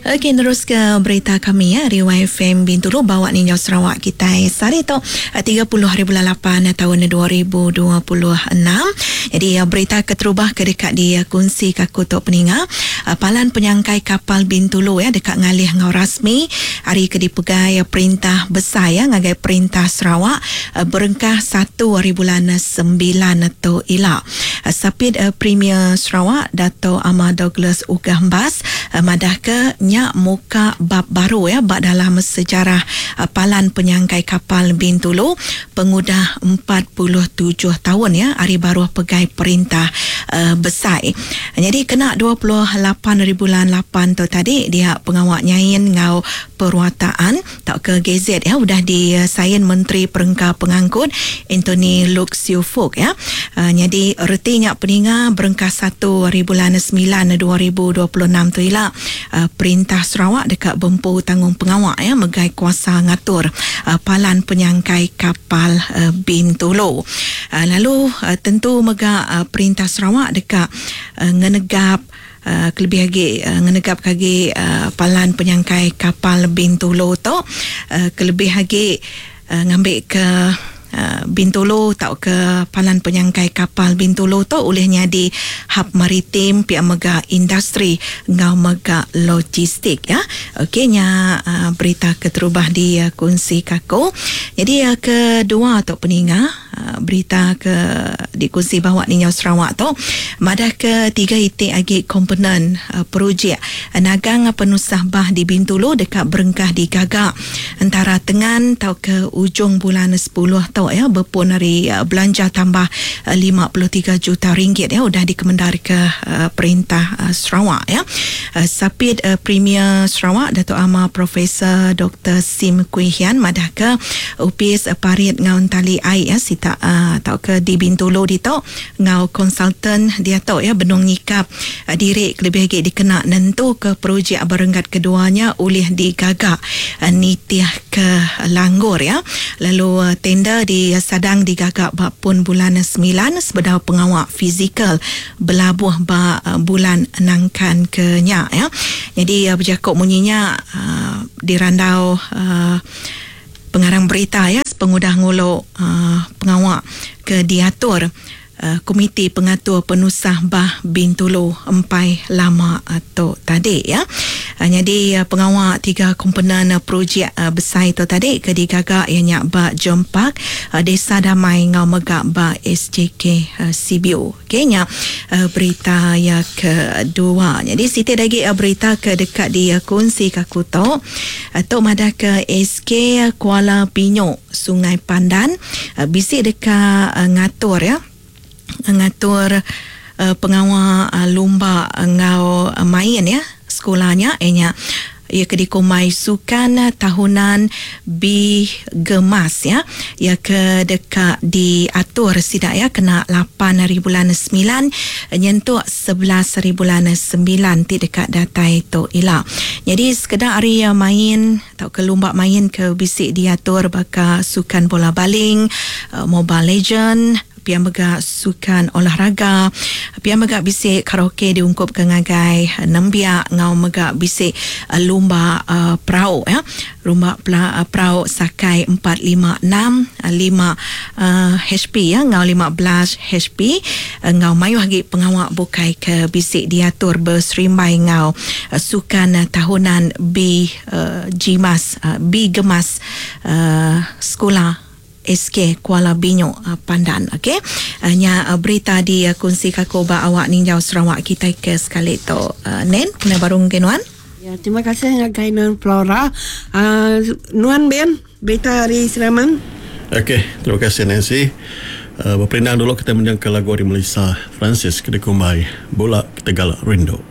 Okey nerus ke berita kami ya ari YFM Bintulu bawa ninjau Sarawak kitai sehari tu 30 hari bulan 8 taun 2026. Jadi berita keterubah ke deka dikunsi ke aku tu peninga palan penyangkai kapal Bintulu ya deka ngalih enggau rasmi ari ke dipegai perintah besai ya ngagai perintah Sarawak berengkah 1 hari bulan 9 tu ila. Sapit Premier Sarawak Dato Amar Douglas Uggah Embas madahka nya muka bab baru iya ba dalam sejarah palan penyangkai kapal Bintulu pengudah 47 taun iya ari baruh pegai perintah besai. Nyadi kena 28 haribulan lapan tu tadi dia pengawa nyain enggau perwataan Tauka gazet ya udah disain Menteri Perengka Pengangkut Anthony Loke Siew Fook ya. Nyadi reti nya peninga berengkah satu hari bulan semilan 2026 tu ila perintah Sarawak deka bempu tanggungpengawa ya megai kuasa ngatur palan penyangkai kapal Bintulu. Lalu tentu mega perintah Sarawak deka ngenegap Kelebih agi ngenegapka agi palan penyangkai kapal Bintulu tu kelebih agi ngambika Bintulu tauka palan penyangkai kapal Bintulu tu ulih nyadi hub maritim pia mega industri enggau mega logistik ya. Okey nya berita keterubah dikunsika aku. Nyadi kedua tu peninga. Berita ke dikunsi bawa ninjau Sarawak tu madahka tiga iti agi komponen projek nagang penusah bah di Bintulu deka berengkah digaga entara tengan tauka ujung bulan sepuluh tu ya bepun ari belanja tambah 53 juta ringgit ya udah dikemendarka perintah Sarawak ya. Sapit Premier Sarawak Datuk Amar Profesor Doktor Sim Kui Hian madahka Opis Parit enggau Entali Ai ya sita tauka di Bintulu ditu enggau konsultan diatu ya benung nyikap diri kelebih agi dikena nentuka projek ba renggat kedua nya ulih digaga nitihka langgur ya lalu tender disadang digaga ba pun bulan semilan sebedau pengawa fizikal belabuh ba bulan nangkan ke nya ya. Nyadi bejaku munyi nya dirandau pengarang berita ya sepengudah ngulu pengawa ke diatur Komiti Pengatur Penusah Bah Bintulu empai lama tu tadi ya. Nyadi pengawa tiga komponen projek besai tu tadi ke digaga iya nya ba Jom Park, Desa Damai enggau mega ba SJK Sibiu. Okey nya berita iya kedua. Nyadi siti da agi berita ke deka dikunsika aku tu. Tu madahka SK Kuala Pinyok Sungai Pandan bisi deka ngatur ya ngatur pengawa lumba enggau main ya sekula nya iya nya iya ke dikumbai Sukan Tahunan B Gemas ya iya ke deka diatur sida ya kena lapan hari bulan semilan nyentuk 11 hari bulan semilan ti deka datai tu ila. Nyadi sekeda ari main tauka lumba main ke bisi diatur baka sukan bola baling, Mobile Legend, pia mega sukan olahraga, pia mega bisi karaoke diungkupka ngagai nembiak enggau mega bisi lumba perau ya. Lumba perau sakai empat lima enam, lima HP ya enggau 15 HP enggau mayuh agi pengawa bukai ke bisi diatur beserimbai enggau sukan tahunan B Gmas B Gemas sekula SK Kuala Binyok Pandan. Okey. Nya berita di kunsi kaku ba awak ninjau Sarawak kitai ke sekali tu. Nen, kena baru ngagai nuan. Ya, terima kasih ngagai nuan Flora. Uh, nuan Ben, berita hari Seraman. Okey, terima kasih Nancy. Uh, beperindang dulu kita menjangka lagu ari Melissa Francis ke dikumbai Bula Ketegal Rindu.